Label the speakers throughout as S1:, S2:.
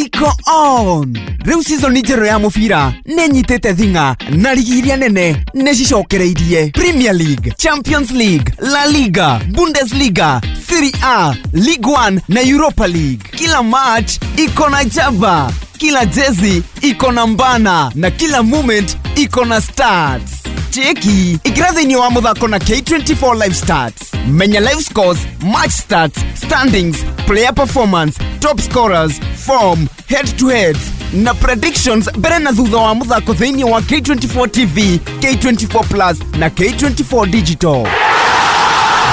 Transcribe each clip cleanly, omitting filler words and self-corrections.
S1: Iko on. Rĩu season njerũ ya mũbira nĩ nyitĩte thing'a na rigi iria nene nĩ cicokereirie. Premier League, Champions League, La Liga, Bundesliga, Serie A, Ligue 1 na Europa League. Kila match iko na jaba, kila jezi iko na mbana na kila moment iko na stats. Cheki ikira thĩinĩ wa mũthako na K24 Live Stats. Menya live scores, match stats, standings, player performance, top scorers, form, head to heads na predictions mbere na thutha wa mũthako thĩinĩ wa K24 TV, K24 Plus na K24 Digital.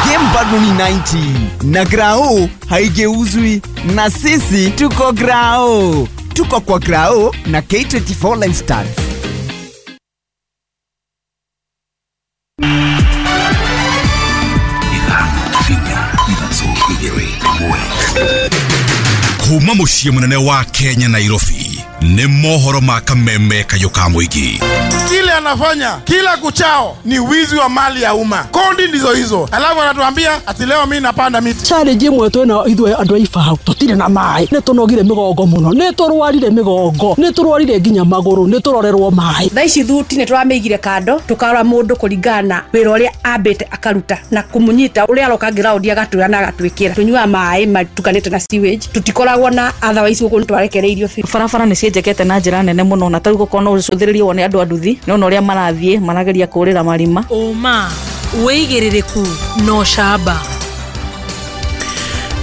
S1: Game bado ni 90 na grao haigeuzwi, na sisi tuko grao, tuko kwa grao na K24 Live Stats.
S2: Kuma muciĩ mũnene wa Kenya, Nairobi, nĩ mohoro ma kameme kayũ ka mũingĩ.
S3: Kile anafanya kila kuchao ni wizi wa mali ya umma. Kodi ndizo hizo, alafu anatuambia ati leo mimi napanda miti.
S4: Challenge imwe twina ithuĩ andũ a Ibao, tũtirĩ na maĩ, nĩ tũnogire mĩgongo mũno, nĩ tũrwarire mĩgongo, nĩ tũrwarire nginya magũrũ, nĩ tũrorerwo maĩ.
S5: Thaa ici thuti nĩ tũramĩigire kando, tũkarora mũndũ kũringana na wĩra ũrĩa ambĩte akaruta na kũmũnyita ũrĩa aroka ground agatwĩra na agatwĩkĩra. Tũnyuaga maĩ matukanĩte na sewage, tũtikoragwo na otherwise gũkũ nĩ twarekereirio biũ.
S6: Barabara nĩ cienjekete na njĩra nene mũno, na tarĩu gũkorwo no ũcũthĩrĩrie wone andũ a nduthi nĩ ũrĩa marathiĩ marageria kũrĩra marima.
S7: Ũma, wĩigĩrĩrĩku na ũcamba.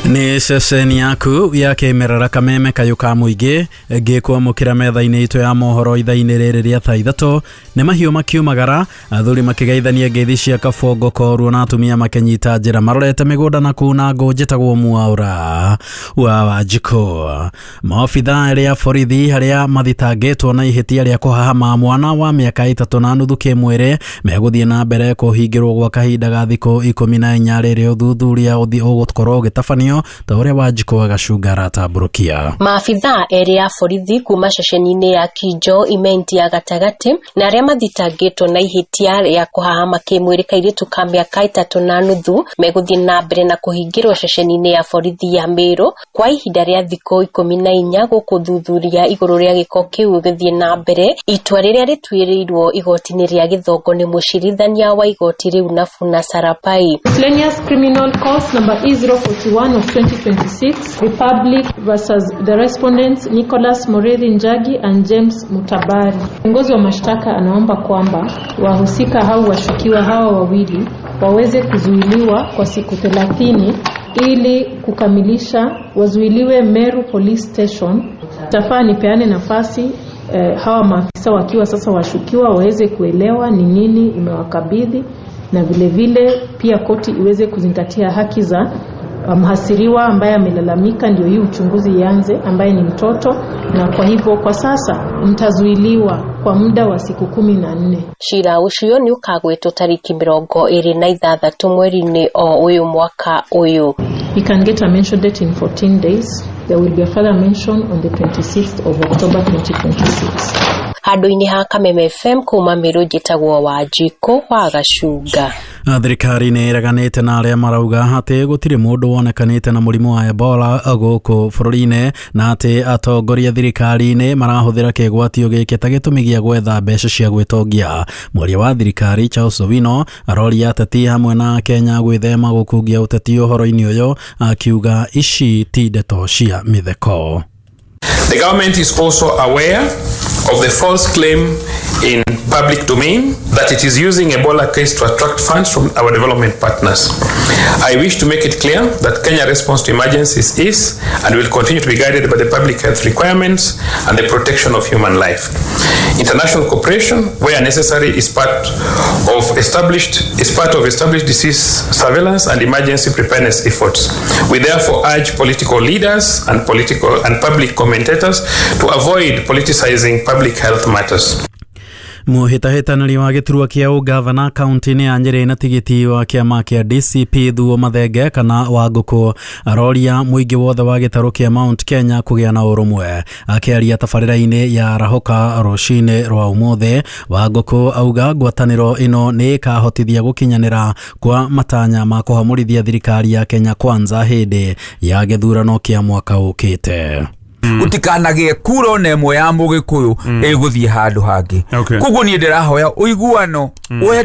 S8: Nĩ ceceni yaku ya kĩmerera kameme kayũ ka mũingĩ ngĩkwamũkĩra metha-inĩ itũ ya mohoro ithaa-inĩ rĩrĩ rĩa thaa 3. Nĩ mahiũ makiumagara, athuri makĩgeithania ngeithi cia kabongo koruo na atumia makĩnyita njĩra marorete mĩgũnda na kuna ngũ. Njĩtagwo Mwaura wa Wanjikũ. Maobitha arĩa borithi arĩa mathitangĩtwo na ihĩtia rĩa kũhahama mwana wa mĩaka 3.5 kĩmwĩrĩ megũthiĩ na mbere kũhingĩrwo gwa kahinda ga thikũ 14 rĩrĩa ũthuthuria ũgũkorwo ũgĩtabanio ta ũrĩa Wanjikũ agacunga aratambũrũkia.
S9: Maabitha erĩ a borithi kuma ceceni-inĩ ya Kinjo Imenti ya gatagatĩ na arĩa mathitangĩtwo na ihĩtia rĩa kũhahama kĩmwĩrĩ kairĩtu ka mĩaka 3.5 megũthiĩ na mbere na kũhingĩrwo ceceni-inĩ ya borithi ya Meru kwa ihinda rĩa thikũ 14 gũkũ thuthuria igũrũ rĩa gĩko kĩu gĩthiĩ na mbere. Itua rĩrĩa rĩtuĩrĩirwo igoti-inĩ rĩa Gĩthongo nĩ mũcirithania wa igoti rĩu Nafuna Sarapai.
S10: Miscellaneous Criminal Cause number E041 of 2026, Republic versus the respondents Nicholas Morethi Njagi and James Mutabari. Kiongozi wa mashtaka anaomba kwamba wahusika hao washukiwa hawa wawili waweze kuzuiliwa kwa siku 30 ili kukamilisha, wazuiliwe Meru Police Station. Tafaa nipeane nafasi hawa maafisa wakiwa sasa washukiwa waweze kuelewa ni nini imewakabidhi, na vile vile pia koti iweze kuzingatia haki za mhasiriwa ambaye amelalamika, ndio hii uchunguzi ianze, ambaye ni mtoto, na kwa hivyo kwa sasa mtazuiliwa kwa muda wa siku 14.
S9: Cira ucio ni ukagwetwo tariki 26 mweri-inĩ o ũyũ mwaka ũyũ.
S10: He can get a mention date in 14 days. There will be a further mention on the 26th of October 2026.
S9: Handũ-inĩ ha Kameme FM kuma Meru, njĩtagwo Wanjikũ wa Gacunga.
S8: Thirikari nĩ ĩreganĩte na arĩa marauga atĩ gũtirĩ mũndũ wonekanĩte na mũrimũ wa Ebola gũkũ bũrũri-inĩ, na atĩ atongoria thirikari-inĩ marahũthĩra kĩgwatio gĩkĩ ta gĩtũmi gĩa gwetha mbeca cia gwĩtongia. Mwaria wa thirikari Charles Owino aroria ateti hamwe na Kenya gwĩthema gũkungia ũteti ũhoro-inĩ ũyũ, akiuga ici ti ndeto cia mĩtheko.
S11: The government is also aware of the false claim in public domain that it is using Ebola case to attract funds from our development partners. I wish to make it clear that Kenya response to emergencies is and will continue to be guided by the public health requirements and the protection of human life. International cooperation, where necessary, is part of established disease surveillance and emergency preparedness efforts. We therefore urge political leaders and political and public commentators to avoid politicizing public health matters.
S8: Mũhĩtahĩtanĩri wa gĩturwa kĩa ũgavana kaunti-inĩ ya Nyĩrĩ na tigiti wa kĩama kĩa DCP Thuo Mathenge kana Wangũkũ aroria mũingĩ wothe wa gĩtarũ kĩa Mount Kenya kũgĩa na ũrũmwe. Akĩaria tabarĩra-inĩ ya Rahoka rũcinĩ rwa ũmũthĩ, Wangũkũ auga ngwatanĩro ĩno nĩ ĩkahotithia gũkinyanĩra kwa matanya ma kũhamũrithia thirikari ya Kenya Kwanza hĩndĩ ya gĩthurano kĩa mwaka ũkĩte.
S12: Gũtikanagĩe kura ona ĩmwe ya Mũgĩkũyũ ĩgũthiĩ handũ hangĩ.
S13: Okay.
S12: Koguo niĩ ndĩrahoya ũiguano wenda.